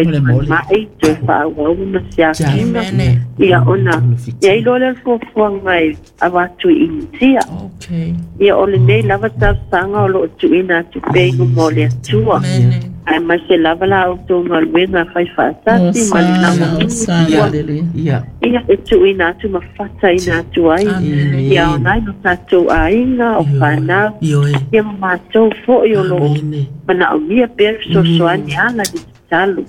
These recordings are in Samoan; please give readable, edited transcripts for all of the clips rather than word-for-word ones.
Faimai toe faaauau ona siakiina. Ia ona i ai loa lea o le fuafuaga e avatu i Initia. Ia o lenei lava talosaga o lo o tuuina atu pea i luma o le Atua. Aemaise lava la outou galuega faifaatasi ma le lagolago. Ia e tuuina atu ma fataina atu ai ia aoga ai lo tatou aiga o fanau ia ma matou foi o lo o manaomia pea le fesoasoani e ala i le tatalo.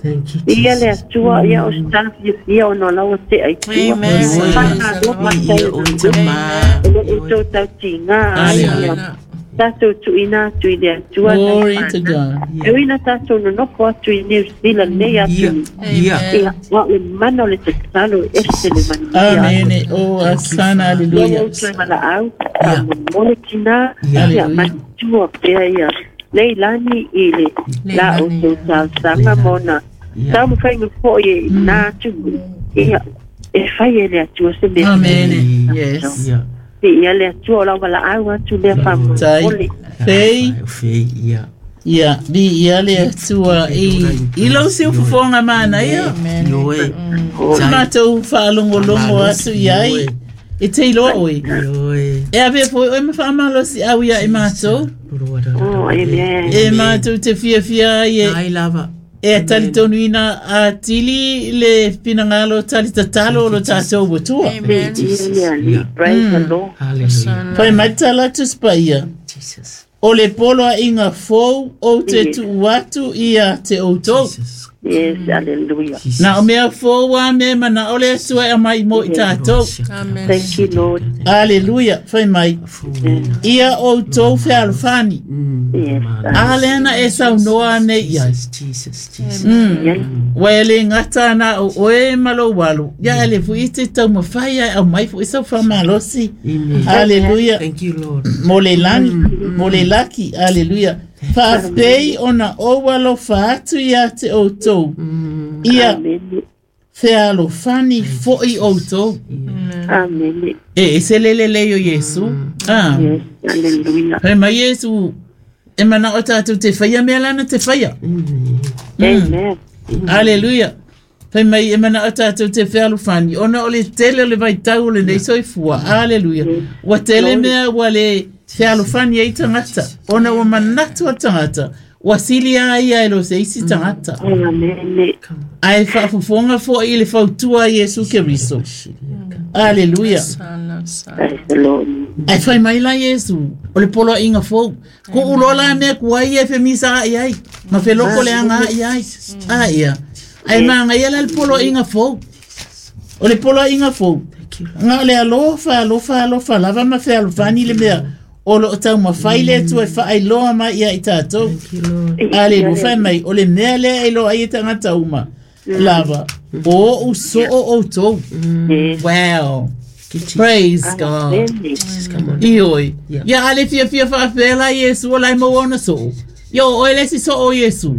Viia le Atua, ia o se tala fiafia ona o la ua tea i tua. Faamalo faafetai i o lo o outou tautiga ai ia tatou tuuina atu i le Atua nai fanau. E ui ina tatou nonofo atu i New Zealand nei atunuu, ia, a o le mana o le tatalo e ese le manuia. Amene. Oh, asana, hallelujah. Ia outou valaau, faamolemole tina, ia manatua pea ia Leilani i le la outou talosaga ma ona taumafaiga foi e na atunuu, ia, e fai e le Atua se mea. Amene. Yes. Viia le Atua, o lau valaau atu lea faamolemole. Fei. Ia, viia le Atua i, i lou siufofoga manaia. Sa matou faalogologo atu i ai. E te iloa oe. E avea foi oe ma faamalosiau ia i matou. Oh, amen. E matou te fiafia ai e, Ai lava. e talitonuina atili le finagalo talitatalo o lo tatou Atua. Viia le Alii. Praise the Lord. Hallelujah. Fai mai tala atu Paia. Jesus. O le poloaiga fou ou te tuu atu ia te outou. Jesus. Yes, hallelujah. Jesus. Na o mea fou a mea manao le Atua e aumai mo i tatou. Thank you, Lord. Aleluia, fai mai. Ia outou fealofani. Yes. A lea na e saunoa nei i ai. Jesus, Jesus, Jesus. Yes. Ua e le gata na o oe ma lou alo. Ia e le fui te taumafai ai aumai foi sau faamalosi. Amen. Aleluia. Thank you, Lord. Mo le lani, mo le laki, aleluia. Faapei ona ou alofa atu ia te outou. Ia Amen. fealofani foi outou. Amen. E ese le lelei o Iesu. Ah. Yes, hallelujah. Fai mai Iesu, e manao tatou te whaia mea lana te whaia. Amen. Aleluia. Fai mai e manao tatou te fealofani. Ona o le tele o le vaitau o lenei soifua. Aleluia. Ua tele mea ua le fealofani ai tagata. Ona ua manatu a tagata. Ua sili a ia e lo se isi tagata. Amen. Ae faafofoga foi i le fautua a Iesu Keriso. Aleluia. Praise the Lord. Ae fai mai la Iesu, o le poloaiga fou. Ku'u loa la mea kuai e femisa a'i ai, ma feloko le aga a'i ai. A ia. Ae magaia la le poloaiga fou. O le poloaiga fou. Nga o le alofa, alofa, alofa lava ma fealofani le mea. O loo taumafai le Atua e faailoa mai ia i tatou. Thank you, Lord. Aleluia, fai mai, o le mea lea e iloa ai e tagata uma. Lava, o o'u soo outou. Yes. Wow. Thank you, Jesus. Praise God. Amen. Jesus, come on. Ioi. Yeah. Ia ale fiafia faapea Iesu o la e maua ona soo. Ia o oe le isi soo o Iesu.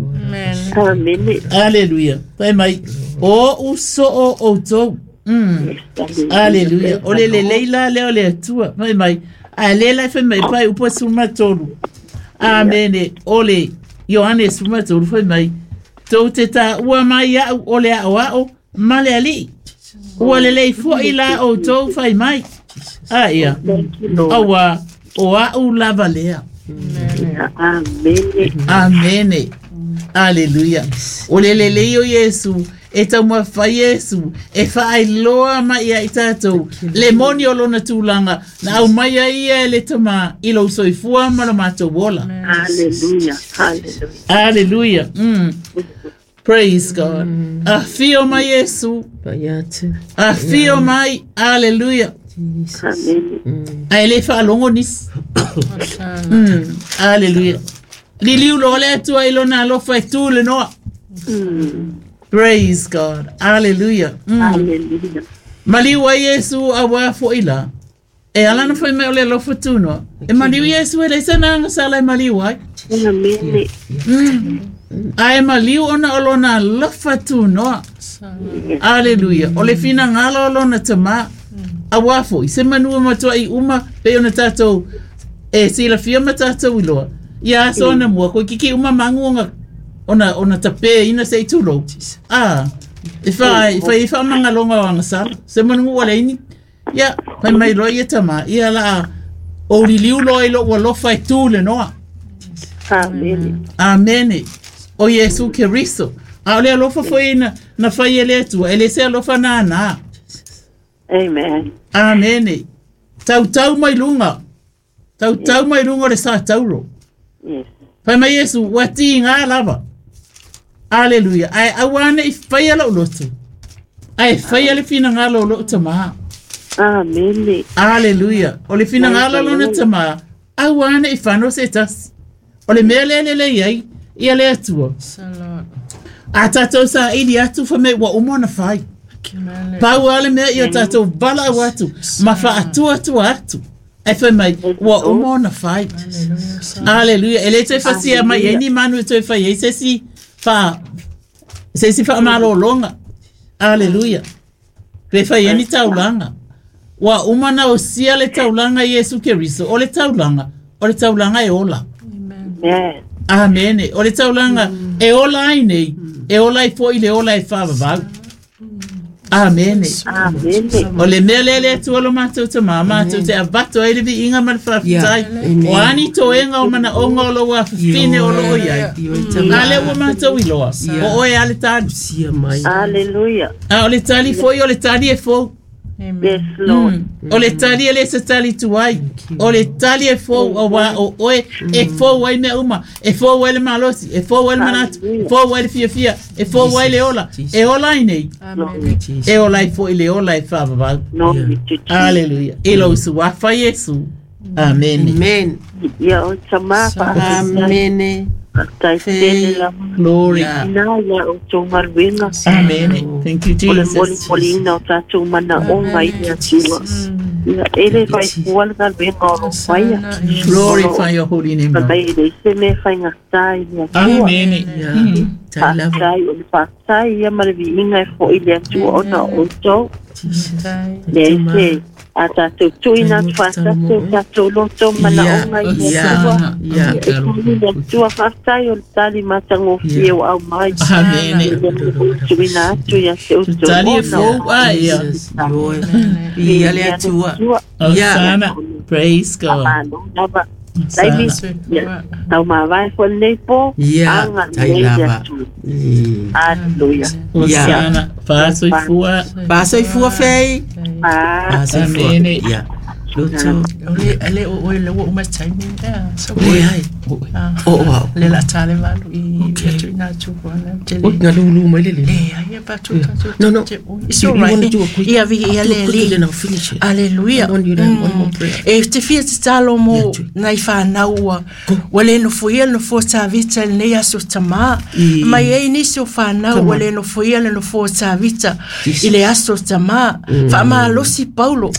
Amen. Aleluia. Fai mai, o o'u soo outou. Aleluia. O le lelei la lea o le Atua. Fai mai, a le la e fai mai, pai upu e 13. Amene. O le Ioane 13 fai mai, tou te taua mai a'u o le a'oa'o ma le alii. Ua lelei foi la outou fai mai. A ia. Thank you, Lord. Auā, o a'u lava lea. Amen. Amene. Aleluia. O le lelei o Iesu, e taumafai Iesu, e faailoa mai ia i tatou, le moni o lona tulaga, na aumai ai ia e le Tamā i lou soifua ma lo matou ola. Hallelujah. Hallelujah. Aleluia. Praise God. Afio mai Iesu, Pai atu. afio mai, aleluia. Jesus. Amen. Ae le faalogo nisi. Aleluia. Liliu loa le Atua i lona alofa e tu le noa. Praise God. Hallelujah. Hallelujah. Maliu ai Iesu auā foi la. E ala na fai mai o le alofa tunoa. E maliu Iesu e leai sana agasala e maliu ai. Amen. Ae maliu ona o lona alofa tunoa. Aleluia. O le finagalo o lona tamā. Auā foi, se manu e matua'i uma, pei ona tatou e silafia ma tatou iloa. Ia aso anamua, koe kiki uma magu ona ona tapeina se i tulou. A e fai faamagaloga o agasala se manugu ua leai ni ia fai mai loa ia tamā ia laa ou liliu loa i lo'u alofa e tū le noa. Amene. Amene. O Iesu Keriso. A o le alofa fo'i na fai e le Atua, e lē se alofa nanā. Amen. Amene. Tautau mai luga. Tautau mai luga o le sa tauro. Yes. Fai mai Iesu, ua tigā lava. Aleluia. Ae auā ne'i faia lo'u loto. Ae faia le finagalo o lo'u tamā. Amene. Aleluia. O le finagalo lona tamā, auā ne'i fano se tasi. O le mea lea lelei ai, ia le Atua. A tātou sa'ili atu fa me ua uma ona fai. Pau a le mea ia tātou valaau atu, ma fa'atuatua atu. Ae fai mai, ua uma ona fai. Aleluia. E lē toe fasia mai ai ni manu e toe fai ai se isi se isi fa'amalōlōga. Aleluia. Pe fai ai ni taulaga. Ua uma na osia le taulaga Iesu Keriso. O le taulaga e ola. Amen. Amene. O le taulaga e ola ai nei, e ola ai fo'i le ola e fa'avavau. Amene. Amene. O le mea lea le Atua lo matou tamā, matou te avato ai le vi'iga ma le fa'afetai. O ani toega o mana'oga o lou afafine o loo iai. A lea ua matou iloa. O oe a le tali. Hallelujah. A o le tali fo'i o le tali e fou. Yes, Lord. O le tali e lē se tali tuai. O le tali e fou auā o oe e fou ai mea uma. E fou ai le malosi, e fou ai le manatu, e fou ai le fiafia, e fou ai le ola. E ola ai nei, e ola ai fo'i le ola e fa'avavau. Glory to Jesus. Aleluia. I lou suafa Iesu. Amene. Amen. Ia o tamā fa'afetai. Amene. Fa'afetai tele lava. Glory. Yeah. Ina ia o tou galuega. Amene. Thank you, O le Jesus. molimoliina o tatou manaʻoga i le Atua. Ia e lē faifua le galuega o loo faia. Glorify your holy name, Lord. Mai e leai se mea faigatā i le Atua. Amene. Yeah. Tai lava. Fa'afetai o le fa'afetai ia ma le vi'iga e fo'i le Atua ona o outou. Leai se a tatou tu'uina atu fa'atasi o tatou loto manaʻoga i le Atua. Yeah. E kuli le Atua fa'afetai o le tali matagofie o au mai. Amene. Tu'uina atu ia te outou Tali e ona. fou a ia. Jesus. Ioe. Ia le Atua. Osana. Praise God. Malo lava. Taimi, Osana. ia, tau mavae foi lenei po, Ia, aga tai lelei le lava. Atua. Aleluia. Osana. Fa'asoifua. Fa'asoifua fei. Ah, Fa'asoifua. Amene. Ia. Loto. Ale o oe le ua uma taimi ea. So Oi ai. O o au. Le la tale valu i atu ina atu kona tele. Oi, na lulu mai le le. Le ai e pa tu tu. No, no. It's You- all you right. wanna do a quick- Ia vi ia Do le it quickly, li. then I'll finish it. Aleluia. I want you to have one more prayer. E te fia te talo mo Ia, tui. nai whanau ua. Ua le nofo ia le nofo tāvita le nei aso tamā. I- Mai ei nisi o whanau Come ua on. le nofo ia le nofo tāvita Jesus. i le aso tamā. Whaamalosi Paulo.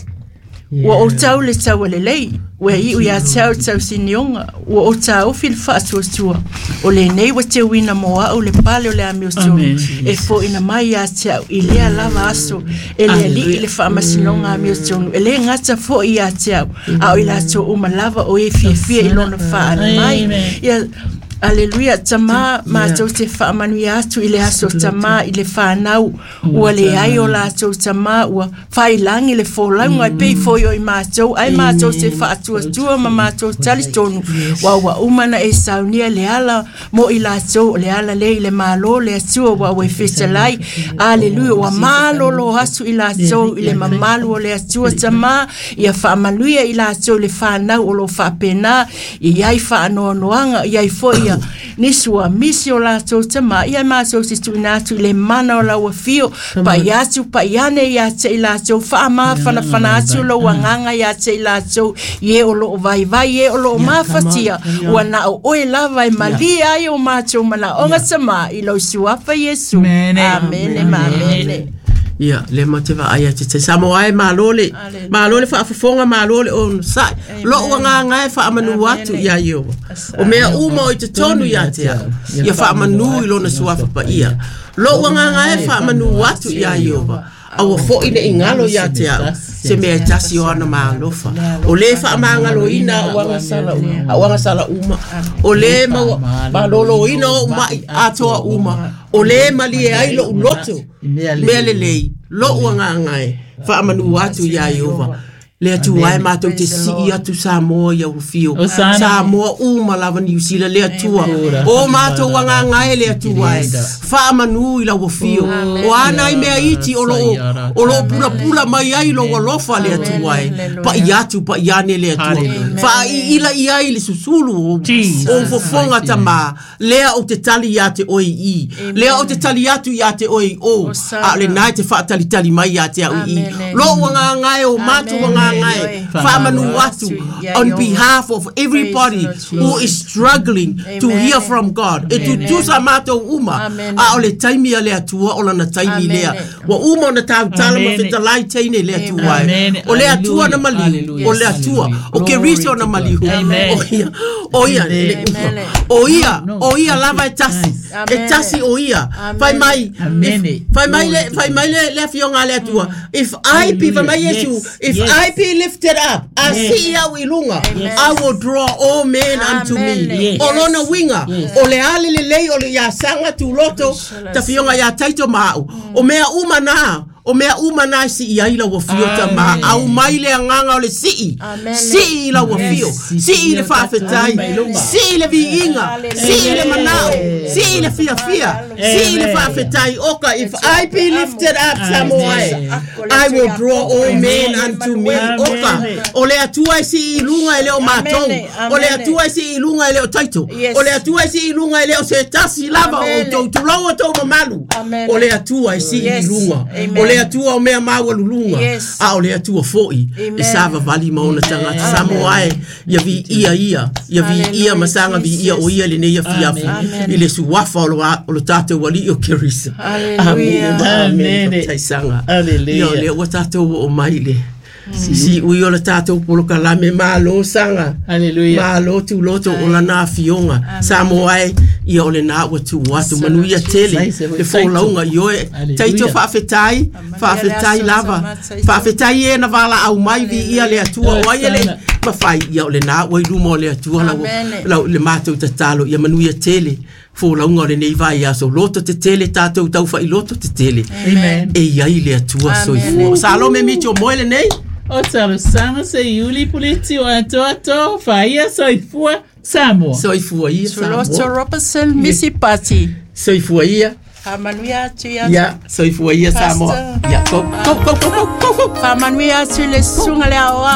Ua o tau le tau le lei. Ua iu ia tau tau sinionga. Ua o tau ofi le whaatuatua. O le nei wa te wina moa o le pale o le ami o tonu. Amen. E fo ina mai ia tau i lea lava aso. E le ali i le whaamasinonga ami o tonu. E le ngata fo i ia tau. A o i lato uma lava o e fia fia i lona whaale mai. Amen. Ia, Aleluia, tamā mātou te whaamanuia atu i le aso tamā i le whānau ua le ai o lātou tamā ua whailangi le fōlaunga e pei foi o i mātou ai mātou te whaatuatua ma mātou tali tonu wa ua umana e saunia le ala mo i lātou le ala le i le mālō le atua wa ua e fetalai aleluia ua mālolo atu i lātou i le mamalu o le atua tamā ia whaamanuia i lātou le whānau o lo whaapena i ai whaanoanoanga i ai foi ia nisi ua misi o lātou tamā ia mātou te tuina atu i le mana o laua fio pai atu pai ane ia te i lātou whaamāwhanawhana atu lo anganga ia te i lātou i e o loo vaivai e o loo mafatia ua na o oe lava e malia ai o mātou mana onga tamā i lau suafa Iesu. Amene. Amene ma amene. Ia, le ma te vaai atu te Samoa e malo le. Malo le faafofoga malo le ono sa'i. Lo'u agaga e faamanu atu iā Ieova. O mea uma o i totonu iā te au. Ia faamanu i lona suafa paia. Lo'u agaga e faamanu atu iā Ieova. Aua fo'i ne'i galo iā te au. Se mea e tasi o ana maalofa. O le faamagaloina au agasala uma, au agasala uma. O le malōlōina oʻu maʻi atoa uma. O le malie ai loʻu loto i mea lelei, loʻu agaga e faamanu atu iā Ieova. Le Atua e matou te sii atu Samoa i au afio. Samoa uma lava Niu Sila le Atua. O matou agaga e le Atua e faamanu i lau afio. O ana i mea iti o loo pulapula mai ai lou alofa le Atua e. Paʻi atu paʻi ane le Atua. Faaiila i ai le susulu o fofoga tamā. Lea ou te tali iā te oe i. Lea ou te tali atu iā te oe i o. A o lenā e te faatalitali mai iā te au i. Loʻu agaga e o matou agaga e faamanu atu on behalf of everybody who is struggling to hear from God. E tutusa matou uma. A o le taimi a le Atua o lana taimi lea. Ua uma ona tautala ma fetalai teine le Atua e. O le Atua na maliu. O le Atua. O Keriso na maliu. O ia. O ia. O ia. O ia lava e tasi. E tasi o ia. Fai mai. Fai mai le fai mai le afioga a le Atua. If I be fai mai Iesu, if I be lifted up, a sii au i luga, I will draw all men unto me. O lona uiga, o le ale lelei o le ia saga tuloto, tafioga ia taito ma au. O mea uma na, o mea uma na e sii ai lau afio tamā. Aumai le agaga o le sii. Sii i lau afio. Sii le faafetai. Sii le viiga. Sii le manao. Sii le fiafia. Sii le faafetai. Oka, if I be lifted up, Samoa, I will draw all men unto me. Oka, o le Atua e sii i luga e le o matou. O le Atua e sii i luga e le o taito. O le Atua e sii i luga e le o se tasi lava o outou tulou outou mamalu. O le Atua e sii i luga. O le Atua o mea maualuluga. A o le Atua foʻi e savavali ma ona tagata. Samoa e, ia viia ia, ia viia ma saga viia o ia lenei afiafi i le suafa o lo tatou alii o Keriso. Amene ma amene. Faafetaisaga. Ia o lea ua tatou oo mai le siui o le tatou polokalame malo saga. Malo tuloto o lana afioga. Samoa e, ia o lenā ua tuu atu manuia tele le folauga i oe. Taito faafetai, faafetai lava. Faafetai e na valaau mai viia le Atua o ai e le mafai ia o lenā ua i luma o le Atua lau lau le matou tatalo ia manuia tele folauga o lenei vaiaso loto tetele tatou taufa'iloto tetele. E iai le Atua soifua. Salome Mitio moe lenei. O talosaga se iuli puleti o atoato faia soifua Samoa. Soifua ia Tuloto Samoa. Robertson Missy Pati. Soifua ia. Faamanuia atu ia. Ia, soifua ia Samoa. Pastor. Ia, go, go, go, go, go, go, go. Faamanuia atu le susuga le aoao.